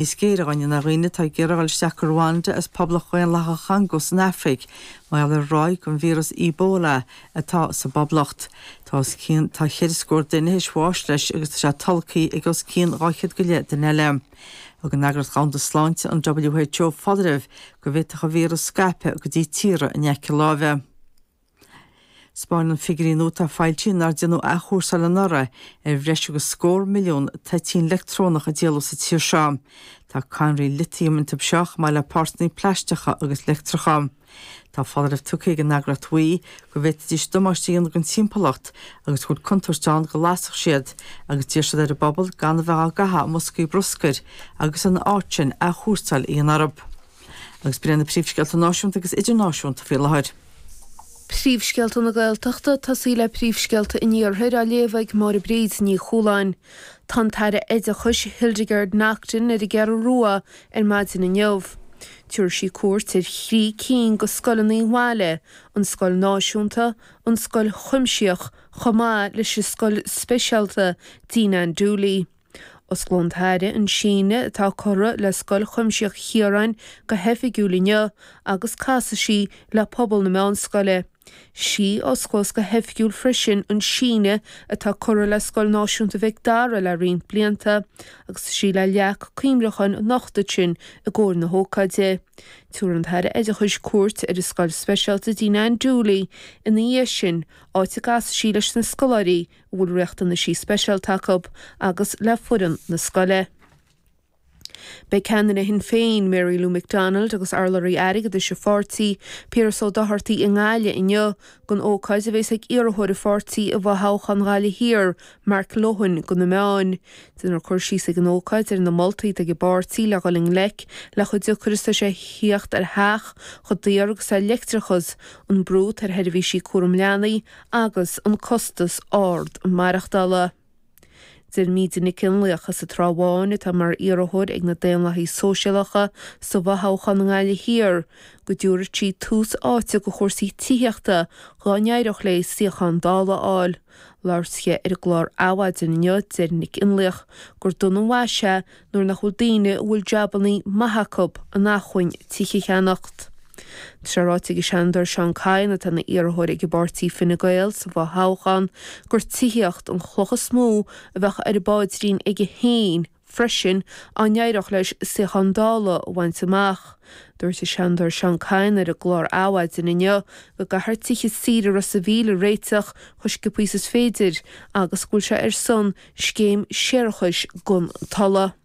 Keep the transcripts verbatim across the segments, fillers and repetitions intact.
Níos géire dhóibh ná dhaoine atá ag iarraidh dul isteach go Rwanda as Poblacht Dhaonlathach Chongó san Afraic, mar gheall ar ráig an víreas Ebola atá sa bpoblacht. Tá os cionn tá ceithre scór duine théis bháis leis agus tá sé tolgtha ag os cionn dhá chéad go leith duine eile. Thug an Eagraíocht Dhomhanda Sláinte an WHO foláireamh go bhféadfadh an víreas scaipeadh go dtí tíortha in aice láimhe. Spáineann figiúirí nua atá foilsithe nár déanadh athchúrsáil anuraidh ar bhreis agus scór milliún toitín leictreonach a díoladh sa tír seo. Tá cadhnraí litiam iontu seo chomh maith le páirteanna plaisteacha agus leictreacha. Tá foláireamh tugtha ag an eagraíocht WHI go bhféadfaidís damáiste a dhéanamh don timpeallacht agus go bhfuil contúirt ann go lasfadh siad agus d'iarr siad ar an bpobal gan a bheith á gcaitheamh i mboscaí bruscair agus ina áit sin athchúrsáil a dhéanamh orthu. Agus b'in na príomhscéalta náisiúnta agus idirnáisiúnta faoi láthair. Príomhscéalta na Gaeltachta tosaí le príomhscéalta an Iarthair á léamh ag Máire Bríd Ní Chualáin. Tá an tAire Oideachais Hildegarde Naughton ar an gCeathrú Rua ar maidin inniu. Tabharfaidh sí cuairt ar thrí cinn de scoileanna an bhaile, an scoil náisiúnta, an scoil chuimsitheach, chomh maith leis an scoil speisialta Dean Ann Dooley. Osclóidh an tAire an síneadh atá curtha le scoil chuimsitheach Chiaráin go hoifigiúil inniu agus casfaidh sí le pobal na meánscoile. Sí a osclós go hoifigiúil freisin an síneadh atá curtha le scoil náisiúnta Mhic Dara le roinnt blianta, agus sí le leac cuimhneacháin a nochtadh sin i gcomhair na hócáide. Tabharfaidh an tAire Oideachais cuairt ar an scoil speisialta Dean Ann Dooley ina dhiaidh sin, áit a gcasfaidh sí leis na scoláirí a bhfuil riachtanaisí speisialta acu agus le foireann na scoile. Beidh ceannaire Shinn Féin, Mary Lou McDonald agus urlabhraí airgeadais an pháirtí, Piaras Ó Dochartaigh i nGaillimh inniu don ócáid a bheas ag iarrthóir an pháirtí i bhfothoghchán Ghaillimh Thiar, Mark Lohan, do na meáin. Déanfar cur síos ag an ócáid ar na moltaí atá ag an bpáirtí le dhul i ngleic le chomh deacair is atá sé theacht ar theach, chomh daor agus atá leictreachas, an brú atá ar sheirbhísí cúram leanaí agus an costas ard maireachtála. Deir Míde Nic Fhionnlaoich as an Trá Bháin atá mar iarrthóir ag na Daonlathaithe Sóisialacha sa bhfothoghchán i nGaillimh Thiar go dtabharfaidh sí tús áite do chúrsaí tithíochta dá n-éireodh léi suíochán Dála a fháil. Labhairt ar an gclár Adhmhaidin inniu deir Nic Fhionnlaoich gur dona an mhaise é nuair nach bhfuil daoine a bhfuil jabannaí maith acu in acmhainn tithe a cheannacht. Tá sé ráite ag an Seanadóir Seán Kyne atá ina iarrthóir ag an bpáirtí Fine Gael sa bhfothoghchán gur tithíocht an chloch is mó a bheadh ar an bpaidrín aige féin freisin dá n-éireodh leis suíochán Dála a bhaint amach. Dúirt an Seanadóir Seán Kyne ar an gclár Adhmhaidin inniu go gcaithfear tithe saoire Ros an Mhíl a réiteach chomh sciobtha is is féidir agus go bhfuil sé ar son scéim séarachais gan toilleadh.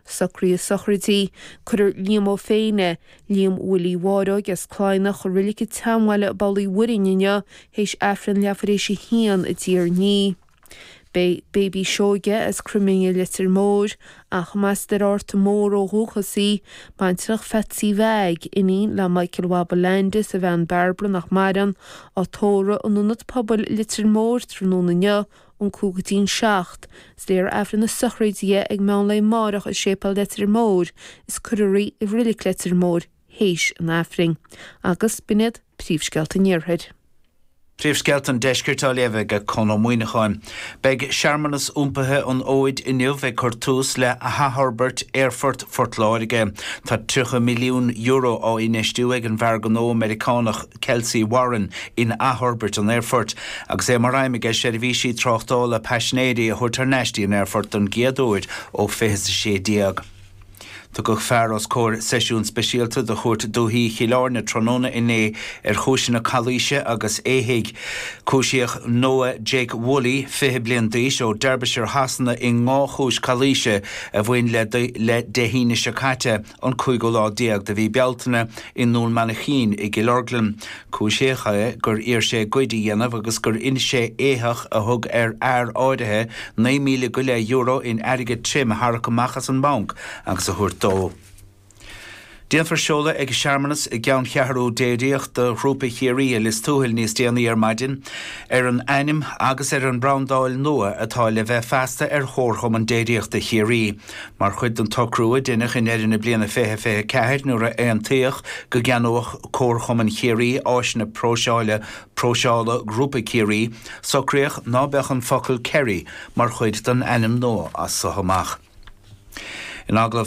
Socruithe sochraidí, Cuirfear Liam Ó Féinne, Liam Willie Mháireoig as Cladhnach i reilig an tSeanbhaile i bPoll Uí Mhuirinn inniu théis Aifreann leathuair théis a haon i dTír an Fhia. Beidh Baby Seoige as Croimine Leitir Móir, ach más as Ard Mór ó dhúchas í, baintreach Phatsy Mheaig, iníon le Michael Waba Landis a bhean Barbara nach maireann, á tórramh in Ionad Pobail Leitir Móir tráthnóna inniu ón cúig go dtí an seacht. Is léifear Aifreann na sochraide ag meán lae amárach i Séipéal Leitir Móir is cuirfear í i reilig Leitir Móir théis an Aifrinn. Agus b'in iad príomhscéalta an Iarthair. Príomhscéalta an deiscirt á léamh ag Conn Ó Muíneacháin. Beidh searmanas iompaithe an fhóid inniu ag cur tús le hathfhorbairt Aerfort Phort Láirge. Tá tríocha milliún euro á infheistiú ag an bhfear gnó Meiriceánach Kelcy Warren in athfhorbairt an aerfoirt, agus é mar aidhm aige seirbhísí tráchtála paisinéirí a thabhairt thar n-ais dtí an aerfort don gcéad uair ó fiche sé déag. Tugadh fear os comhair seisiún speisialta de Chúirt Dúiche Chill Airne tráthnóna inné ar chúiseanna calaoise agus éithigh. Cúisíodh Noah Jake Woolley, fiche bliain d'aois ó Derbyshire Shasana i dhá chúis calaoise a bhain le le Dé hAoine seo caite an cúigiú lá déag de mhí Bealtaine i nDún Mainchín i gCill Orglan. Cúisíodh é gur iarr sé goid a dhéanamh agus gur inis sé éitheach a thug ar fhear áirithe naoi míle go leith euro in airgead tirim a tharrac amach as an mbanc agus a thabhairt dó. Déanfar seoladh ag searmanas i gceanncheathrú déiríochta Ghrúpa Chiarraí i Lios Tuathail níos déanaí ar maidin ar an ainm agus ar an mbrandáil nua atá le bheith feasta ar Chomharchumann Déiríochta Chiarraí. Mar chuid den tsocrú a deineadh i ndeireadh na bliana fiche fiche ceathair nuair a aontaíodh go gceannódh Comharchumann Chiarraí áiseanna próiseála próiseála Grúpa Chiarraí, socraíodh ná beadh an focal Kerry mar chuid den ainm nua as so amach. In agallamh